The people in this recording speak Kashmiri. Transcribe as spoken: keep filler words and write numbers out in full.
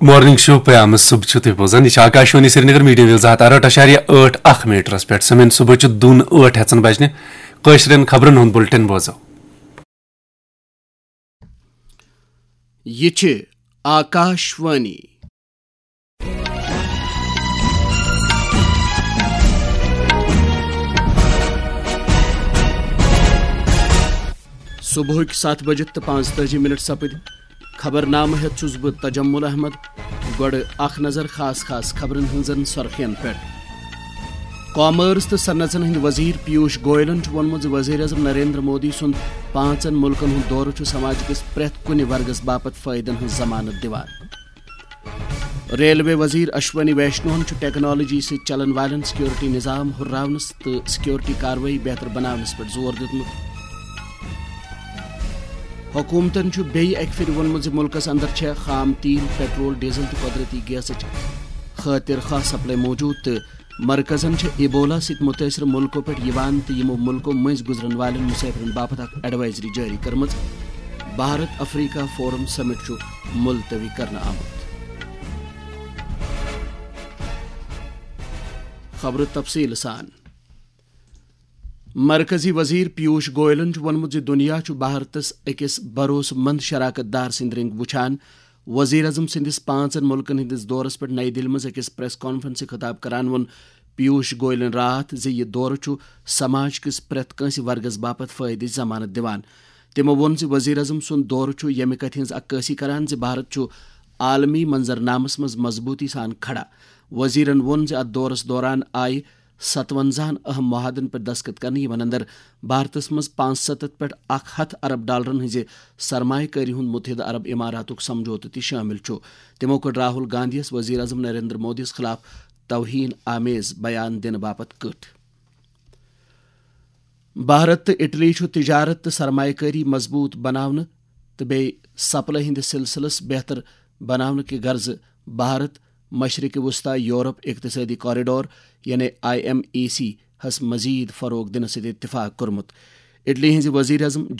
مارننگ شو پیام صبح چھِو تُہۍ بوزان۔ یہِ چھِ آکاشوانی سرینگر، میڈیم ویو زٕ ہتھ ارہٲٹھ اَشاریہ ٲٹھ اکھ میٹرس پٮ۪ٹھ۔ سمن صبحٕچہِ دُن ٲٹھ ہٮ۪ژن بجنہِ۔ کٲشرٮ۪ن خبرن ہُنٛد بُلٹن بوزو۔ یہِ چھِ آکاشوانی۔ صبحٕکۍ ستھ بجہِ تہٕ پانٛژتٲجی منٹ سپٕدۍ۔ خبرنامہٕ ہٮ۪تھ چھُس بہٕ تجمل احمد۔ گۄڈٕ اکھ نظر خاص خاص خبرن ہٕنٛزن سرخین پٮ۪ٹھ۔ کامٲرس تہٕ صنعژن ہٕنٛدۍ وزیر پیوش گویلن چھُ ووٚنمُت زِ وزیر اعظم نریندر مودی سُنٛد پانٛژن مُلکن ہُنٛد دورٕ چھُ سماج کِس پرٛٮ۪تھ کُنہِ ورگس باپتھ فٲیدن ہٕنٛز ضمانت دِوان۔ ریلوے وزیر اشونی ویشنوہن چھُ ٹیکنالوجی سۭتۍ چلن والٮ۪ن سیکیورٹی نظام ہُرراونس تہٕ سیکیورٹی کاروٲیی بہتر بناونس پٮ۪ٹھ زور دیُتمُت۔ حکومتن چھُ بیٚیہِ اکہِ پھِرِ ووٚنمُت زِ مُلکس اندر چھےٚ خام تیل، پیٹرول، ڈیزل تہٕ قۄدرٔتی گیسٕچ خٲطر خاص سپلائی موٗجوٗد تہٕ مرکزن چھےٚ ایبولا سۭتۍ مُتٲثر مُلکو پٮ۪ٹھ یِوان تہٕ یِمو مُلکو مٔنٛزۍ گُزرن والٮ۪ن مُسافِرن باپتھ اکھ ایڈوائزری جٲری کٔرمٕژ۔ بھارت افریقہ فورم سمٹ چھُ ملتوی کرنہٕ آمُت۔ خبرٕ تفصیٖل سان۔ مرکزی وزیر پیوش گویلن چھُ ووٚنمُت زِ دُنیا چھُ بھارتس أکِس بھروسہٕ مند شراکت دار سٕنٛدۍ رٔنٛگۍ وُچھان۔ وزیر اعظم سٕنٛدِس پانٛژن مُلکن ہٕنٛدِس دورس پٮ۪ٹھ نئی دِلہِ منٛز أکِس پریس کانفرنسہِ خطاب کران ووٚن پیوش گویلن راتھ زِ یہِ دورٕ چھُ سماج کِس پرٛٮ۪تھ کٲنٛسہِ ورگس باپتھ فٲیدٕچ ضمانت دِوان۔ تِمو ووٚن زِ وزیر اعظم سُنٛد دورٕ چھُ ییٚمہِ کتھِ ہٕنٛز عکٲسی کران زِ بھارت چھُ عالمی منظرنامس منٛز مضبوٗطی سان کھڑا۔ وزیرن ووٚن زِ اتھ دورس دوران آیہِ ستونزاہن اہم معاہدن پٮ۪ٹھ دستخط کرنہٕ، یِمن اندر بھارتس منٛز پانٛژھ ستتھ پٮ۪ٹھ اکھ ہتھ ارب ڈالرن ہٕنٛزِ سرمایہ کٲری ہُنٛد متحدہ عرب اماراتُک سمجھوتہٕ تہِ شٲمِل چھُ۔ تِمو کٔر راہل گاندھی یَس وزیر اعظم نریندر مودی یَس خلاف توہین آمیز بیان دِنہٕ باپتھ کٔٹھ۔ بھارت تہٕ اٹلی چھُ تجارت تہٕ سرمایہ کٲری مضبوط بناونہٕ تہٕ بیٚیہِ سپلائی ہٕنٛدِس سلسلس بہتر بناونہٕ کہِ غرضہٕ بھارت مشرق وسطی یورپ اقتصادی کوریڈور، یعنی آئی ایم ای سی ہس مزید فروغ دِنہٕ سۭتۍ اتفاق کوٚرمُت۔ اٹلی ہٕنٛزِ وزیر اعظم